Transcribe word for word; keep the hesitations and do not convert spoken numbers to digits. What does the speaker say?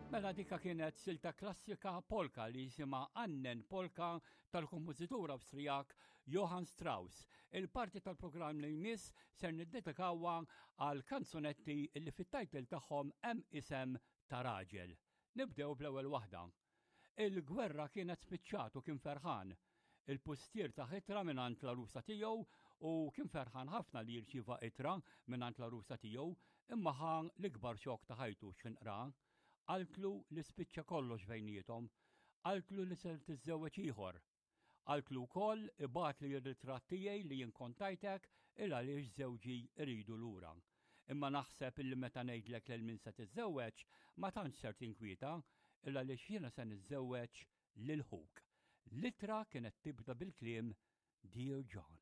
Mela dika kienet silta klassika polka li jisimha Annen Polka tal-kompożitur Awstrijak Johann Strauss. Il-parti tal-programm li jmiss ser niddedikawha għal kanzunetti li fit-title tagħhom hemm isem ta' raġel. Nibdew bl-ewwel waħda. Il-gwerra kienet spiċċat u kien ferħan. Il-pustier tah ittra mingħand l-għarusa tiegħu u kien ferħan ħafna li jirċieva ittra mingħand l-għarusa tiegħu imma ħa l-ikbar xokk ta' ħajtu x'ħin qra. Qaltlu li spiċċa kollox bejniethom, qaltlu li ser tiżżewweġ ieħor. Qaltlu wkoll ibgħatli r-ritratt tiegħi li jien kont tajtek il għaliex żewġi rridu lura. Imma naħseb illi meta ngħidlek lil min se tiżżewweġ ma tantx ser tinkwieta il għaliex jiena se niżżewweġ lil ħuk. L-ittra kienet tibda bil-kliem Dear John.